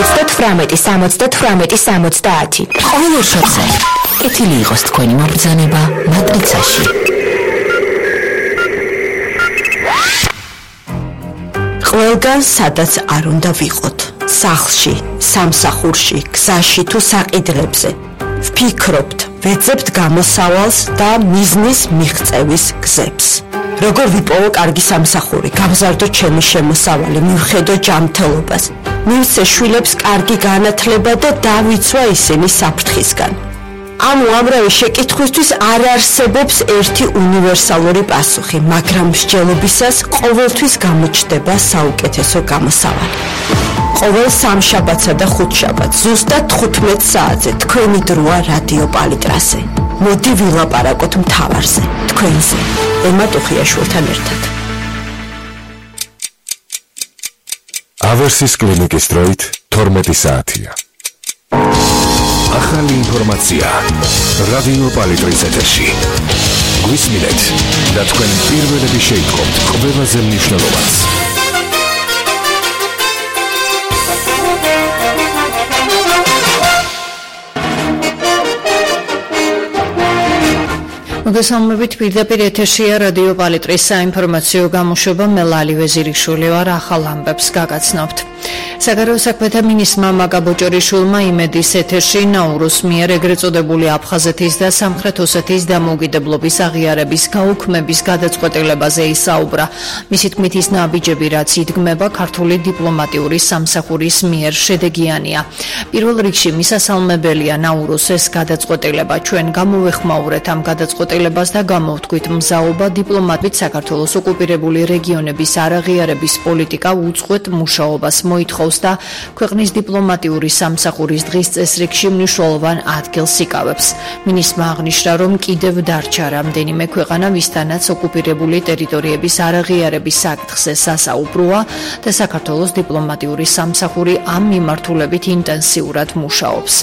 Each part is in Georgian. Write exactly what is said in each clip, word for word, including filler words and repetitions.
ოცდათვრამეტი სამოცდათვრამეტი სამოცდაათი. ყოველ შოთზე კეთილი იყოს თქვენი მობრძანება მატრიცაში. ყველგან სადაც არ უნდა ვიყოთ. სახლში, სამსახურში, გზაში თუ საყიდრებზე. ვფიქრობთ, ვეძებთ გამოსავალს და მიზნის მიღწევის გზებს. როგორ ვიპოვო კარგი სამსახური, გავზარდო ჩემი შემოსავალი, მივხედო ჯანმრთელობას. მივცე შვილებს კარგი განათლება და დავიცვა ისინი საფრთხისგან. ამ უამრავი შეკითხვისთვის არ არსებობს ერთი უნივერსალური პასუხი, მაგრამ მსჯელობისას ყოველთვის გამოჩნდება საუკეთესო გამოსავალი. ყოველ სამშაბათსა და ხუთშაბათს ზუსტად თხუთმეტ საათზე თქვენი დროა რადიო პალიტრაზე. მოდი ვილაპარაკოთ მთავარზე, თქვენზე, ელმა ტუხიაშვილთან ერთად. ავერსის კლინიკის დროით თორმეტი საათია. ახალი ინფორმაცია რადიო პალიტრის ეთერში. გვისმინეთ და თქვენ პირველები შეიტყობთ ყველაზე მნიშვნელოვანს. მოგესალმებით, პირდაპირ ეთერშია რადიო პალიტრის საინფორმაციო გამოშვება, მე ლალი ვეზირიშვილი ვარ, ახალ ამბებს გაგაცნობთ. საგარეო საქმეთა მინისტრმა მაგა ბოჭორიშვილმა იმედის ეთერში ნაურუს მიერ ეგრეთ წოდებული აფხაზეთის და სამხრეთ ოსეთის დამოუკიდებლობის აღიარების გაუქმების გადაწყვეტილებაზე ისაუბრა. მისი თქმით, ის ნაბიჯები, რაც იდგმება ქართული დიპლომატიური სამსახურის მიერ შედეგიანია. პირველ რიგში მისასალმებელია ნაურუს ეს გადაწყვეტილება. ჩვენ გამოვეხმაურეთ ამ გადაწყვეტილებას და გამოვთქვით მზაობა დიპლომატით საქართველოს ოკუპირებული რეგიონების არაღიარების პოლიტიკა უწყვეტ მუშაობას მოითხოვს და ქვეყნის დიპლომატიური სამსახურის დღის წესრიგში მნიშვნელოვან ადგილს იკავებს. მინისტრმა აღნიშნა, რომ კიდევ დარჩა რამდენიმე ქვეყანა, ვისთანაც ოკუპირებული ტერიტორიების არაღიარების საკითხზე სასაუბროა და საქართველოს დიპლომატიური სამსახური ამ მიმართულებით ინტენსიურად მუშაობს.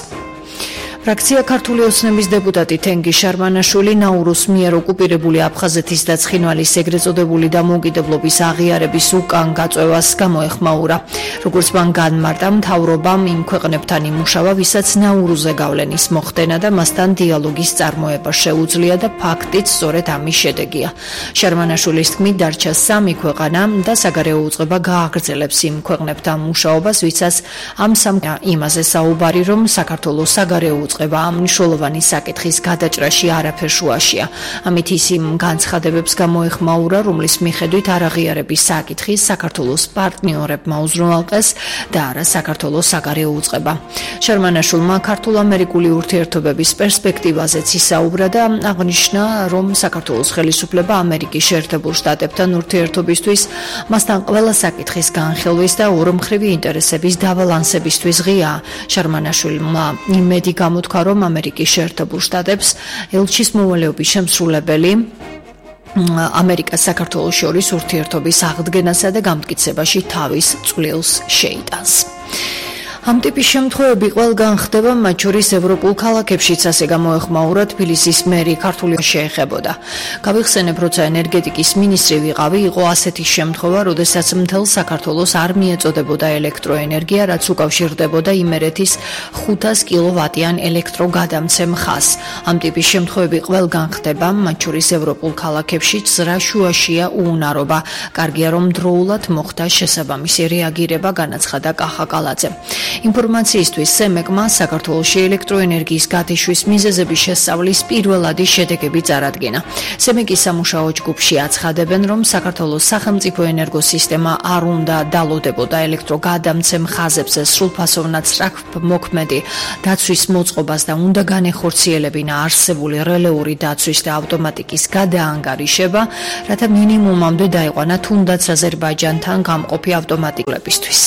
ფრაქცია ქართული ოცნების დეპუტატი თენგი შარმანაშვილი ნაურუს მიერ ოკუპირებული აფხაზეთის და ცხინვალის ეგრეთ წოდებული დამოუკიდებლობის აღიარების უკან გაწევას გამოეხმაურა. როგორც მან განმარტა, მთავრობამ იმ ქვეყნებთან იმუშავა, ვისაც ნაურუზე გავლენის მოხდენა და მასთან დიალოგის წარმოება შეუძლია და ფაქტიც სწორედ ამის შედეგია. შარმანაშვილის თქმით, დარჩა სამი ქვეყანა და საგარეო უწყება გააგრძელებს იმ ქვეყნებთან მუშაობას, ვისაც ამ სამ იმაზე საუბარი, რომ საქართველოს საგარეო უწყება ამ მნიშვნელოვანი საკითხის გადაჭრაში არაფერ შუაშია. ამით ის იმ განცხადებებს გამოეხმაურა, რომლის მიხედვით არაღიარების საკითხი საქართველოს პარტნიორებმა უზრუნველყეს და არა საქართველოს საგარეო უწყება. შარმანაშვილმა ქართულ-ამერიკული ურთიერთობების პერსპექტივაზეც ისაუბრა და აღნიშნა, რომ საქართველოს ხელისუფლება ამერიკის შეერთებულ შტატებთან ურთიერთობისთვის, მასთან ყველა საკითხის განხილვის და ორმხრივი ინტერესების დაბალანსებისთვის ღიაა. შარმანაშვილმა იმედი გამოთქვა, რომ ამერიკის შეერთებულ შტატებს ელჩის მოვალეობის შემსრულებელი ამერიკას საქართველოს შორის ურთიერთობის აღდგენასა და გამტკიცებაში თავის წვლილს შეიტანს. ამ ტიპის შემთხვევები ყველგან ხდება, მათ შორის ევროპულ ქალაქებშიც, ასე გამოეხმაურა თბილისის მერი ქართული შეეხებოდა. გავიხსენებ, როცა ენერგეტიკის მინისტრი ვიყავი, იყო ასეთი შემთხვევა, როდესაც მთელ საქართველოს არ მიეწოდებოდა ელექტროენერგია, რაც უკავშირდებოდა იმერეთის ხუთას კილოვატიან ელექტროგადამცემ ხაზს. ამ ტიპის შემთხვევები ყველგან ხდება, მათ შორის ევროპულ ქალაქებშიც, რა შუაშია უუნარობა. კარგია, რომ დროულად მოხდა შესაბამისი რეაგირება, განაცხადა კახა კალაძე. ინფორმაციისთვის სემეკმა საქართველოში ელექტროენერგიის გათიშვის მიზეზების შესწავლის პირველადი შედეგები წარადგინა. სემეკის სამუშაო ჯგუფში აცხადებენ, რომ საქართველოს სახელმწიფო ენერგოსისტემა არ უნდა დალოდებოდა ელექტროგადამცემ ხაზებზე სრულფასოვნად სწრაფმოქმედი დაცვის მოწყობას და უნდა განეხორციელებინა არსებული რელეური დაცვის და ავტომატიკის გადაანგარიშება, რათა მინიმუმამდე დაიყვანა თუნდაც აზერბაიჯანთან გამყოფი ავტომატიკლებისთვის.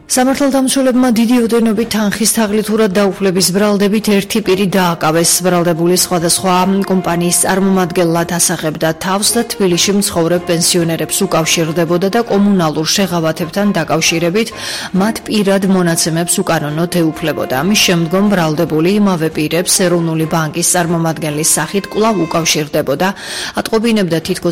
სამართალდამცველებმა დიდი ოდენობით თანხის თაღლითურად დაუფლების ბრალდებით ერთი პირი დააკავეს. ბრალდებული სხვადასხვა კომპანიის წარმომადგენლად ასახებდა თავს და თბილისში მცხოვრებ პენსიონერებს უკავშირდებოდა და კომუნალურ შეღავათებთან დაკავშირებით მათ პირად მონაცემებს უკანონოდ ეუფლებოდა. ამის შემდგომ ბრალდებული იმავე პირებს ეროვნული ბანკის წარმომადგენლის სახით კვლავ უკავშირდებოდა, ატყობინებდა თითქოს